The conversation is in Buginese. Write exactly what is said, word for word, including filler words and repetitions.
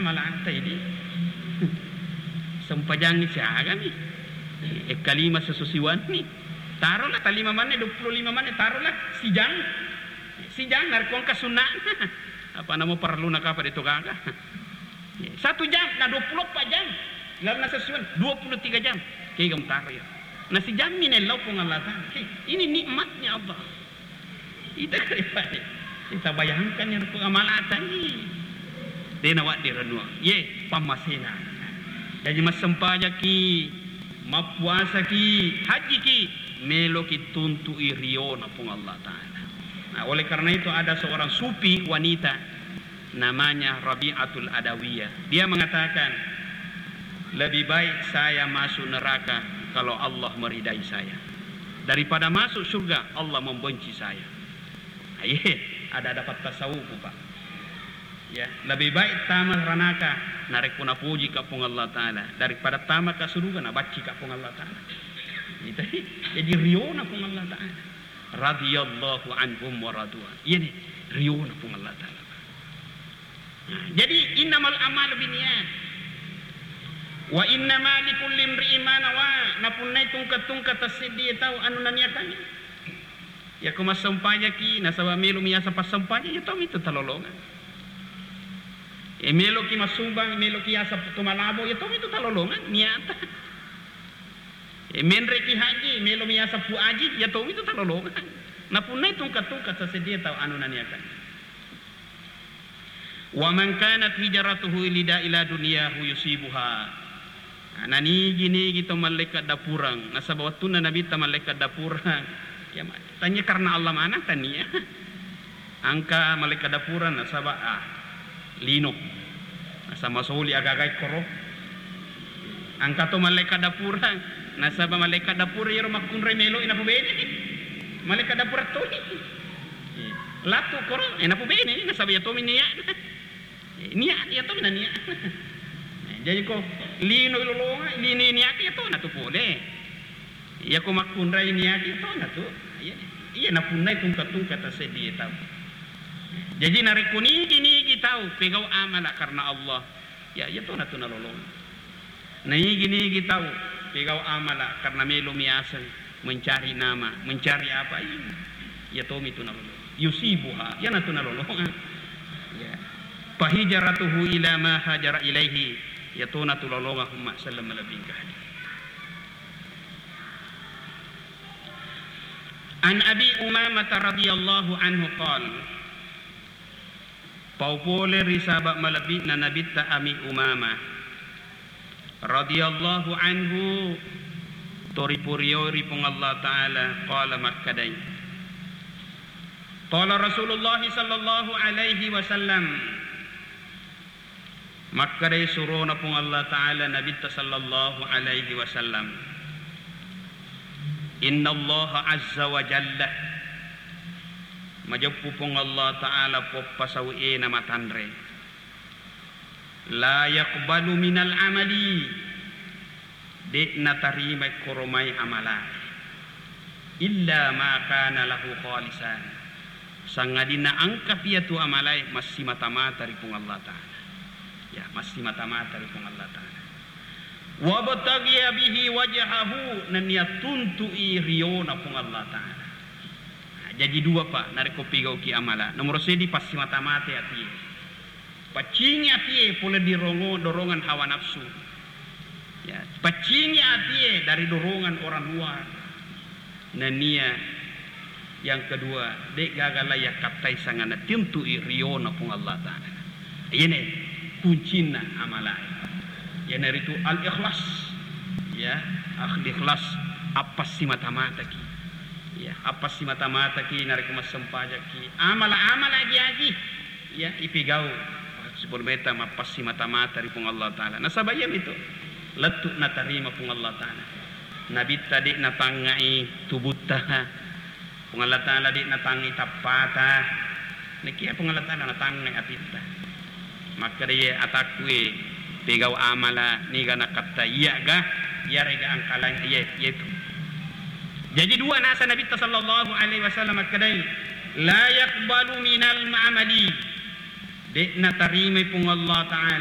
Malata ini. Sempajangngi siagami. Ekkalima sesusiwanni. Tarolah talima manne, dua puluh lima manne, tarolah sijang. Sijang, narekko engka sunna'na. Apa namo parelluna kapa de to gaga. Satu jam, na dua puluh empat jam. Lalu na sesusiwan, dua puluh tiga jam. Kega mutaro ya. Na sijammi nellau Puang Allah Ta'ala. Ini nikmatnya Allah. Ita kare pale. Ita bayangkan yang ku amalatan ni. Dena wak di renua. Ye, pammasena. Jadi massempajaki, mappuasaki, hajjiki, meloki tuntui riona Puang Allah Ta'ala. Nah, oleh karena itu ada seorang sufi wanita namanya Rabi'atul Adawiyah. Dia mengatakan, "Lebih baik saya masuk neraka kalau Allah meridai saya, daripada masuk surga Allah membenci saya." Aye, ada dapat tasawuf, Pak. Ya, lebih baik tama ranaka narekko napuji ka Puang Allah Ta'ala daripada tama ka suruga nabanci ka Puang Allah Ta'ala. Itu, jadi riona Puang Allah Ta'ala. Radhiyallahu anhum wa radu an. Iya nih, riona Puang Allah Ta'ala. Nah, jadi innamal a'malu binniyat. Wa innama likulli imri'in ma nawa. Napunnai tungka-tungka tasseddi tau anu naniakangngi. Yako massempajaki nasaba melo miasa passempajang, iya tomi tu talolongang. E meloki massumbang, meloki yasa tu malabo, iya tomi tu talolongang niata. E menreki haji, melo miasa pu aji, iya tomi tu talolongang. Napunnai tungka-tungka tasseddi tau anu naniakangngi. Wa man kanat hijratuhu lida ila dunyahu yusibuha. Nah, nanigi-nigi to malaikat dapurang, nasaba wettunna Nabitta malaikat dapurang, ya, ma-, tania karena Allah maneng, tania. Engka malaikat dapurang nasaba, ah, lino. Nasaba masoli aga-aga ikkoro. Engka to malaikat dapurang, nasaba malaikat dapurang iyaro makkunrai meloi napubene. Malaikat dapurang toi. Latu koro, eh, napubene, nasaba iya tomi niatna. Eh, niat, iya tomi na niat. Eh, jadi ko lino lolonga, lino niat iya to natu pole. Iya ko makkunrai niat iya to natu. Iya, iya napunnai tungka-tungka taseddi tau. Jadi narekko nigi-nigi tau pegau amala karena Allah, ya, iya to natu nalolonga. Naigi-nigi tau pegau amala karena melo miaseng, mencari nama, mencari apa, iya. Iya tomi tu nalolonga. Yusibuha, iya natu nalolonga. Ya. Fahijratuhu ila ma hajara ilaihi, iya to natu lolonga umma sallam malebbi engka hadir. An Abi Umamah radhiyallahu anhu qala, Pau pole ri sahaba malebbi'na Nabitta Ami Umamah radhiyallahu anhu, to ripurioi ri Puang Allah Ta'ala, qala makkedai, qala Rasulullah sallallahu alaihi wasallam, makkedai surona Puang Allah Ta'ala Nabitta sallallahu alaihi wasallam, Innallaha azza wa jalla, majeppu Puang Allah Ta'ala poppasau ena matanre. La yaqbalu minal amali, de' natarimai koromai amalae, illa ma kana lahu khalisan, sangadinna engka pia tu amalae massimata-mata ri Puang Allah Ta'ala. Ya, massimata-mata ri Puang Allah Ta'ala. Wabtaghiya bihi wajhahu, nennia tuntu'i riona Puang Allah Ta'ala. Nah, jaji dua, Pak, narekko pigauki amala. Nomoro seddi, passimata-mata atie. Paccingi atie pole di rongo-, dorongan hawa nafsu. Ya, paccingi atie dari dorongan orang luar. Nennia yang kedua, de' gaga lai yakkattai sangana, tuntu'i riona Puang Allah Ta'ala. Iyene kuncinna amalae. Iyanaritu al-ikhlas. Ya, al-ikhlas, appassimata-mataki. Ya, appassimata-mataki narekko massempajakki. Amala-amala agi-agi. Ya, ipigau. Sipurmeta mappassimata-mata ri Puang Allah Ta'ala. Nasaba iyamitu lettu natarima Puang Allah Ta'ala. Nabitta de' natangngai tubutta. Puang Allah Ta'ala de' natangngai tappata. Nakia Puang Allah Ta'ala natangngai atitta. Makkeda iye atakku e, pegau amala niga nakatta iya'ga, iyarega angkalang iye, iyetu. Jaji dua nasa Nabitta sallallahu alaihi wasallam makkedai, la yaqbalu minal amali, de' natarimai Puang Allah Ta'ala.